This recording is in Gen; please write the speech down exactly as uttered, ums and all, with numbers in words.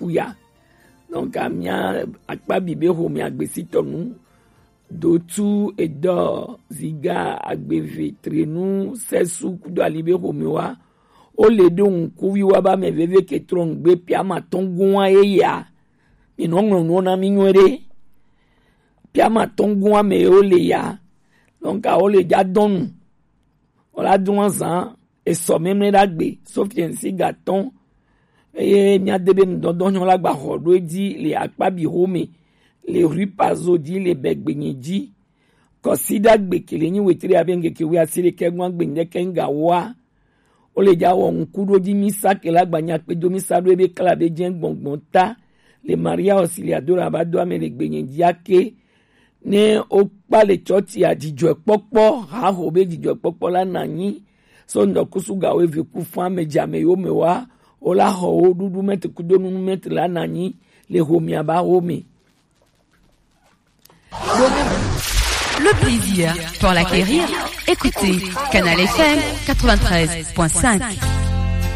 ya. Donc amia akpa bi be xo mi agbesitɔ nu, dotu edɔ ziga agbeve trenu sɛsu kudo ali be xo mi wa. O le do ŋkuvi wa ba mɛ veve ke trɔ ŋgbe piama tɔn gun wa ye ya. Mi nɔ ŋlɔ nuwo na mi nyuie ɖe. Piama tɔn gun wa mɛ o le ya. Donc o le ja dɔnu. Wala dun azan esɔ mɛmlɛ ɖagbe sofiɛnsi gatɔn. Eye mia de be nudɔdɔ nyɔ la gba xɔ ɖo edzi le akpa bi xome le rue Pazo dzi le bɛgbenyi dzi. Kɔsi ɖagbe kele nyi wetre abe ŋgeke wi asi ɖekɛ gɔn agbe ŋdɛkɛ ŋga wa. O le ja wɔ ŋku ɖo dzi misa ke la gba nya kpe do misa ɖo ebe kla be jɛ gbɔngbɔn ta le Maria osi le ado la ba do ame le gbenyi dzi ake. Ne wokpa le tsɔtsi a dzidzɔkpɔkpɔ, haho be dzidzɔkpɔkpɔ la nanyi. So ŋdɔkusu ga wo eve ku fã me dza me yo me wa, wo la xɔ wo ɖuɖu mɛtri kudo nunu mɛtri la nanyi le homia ba wo me. Le plaisir pour l'acquérir, écoutez Canal F M quatre-vingt-treize point cinq.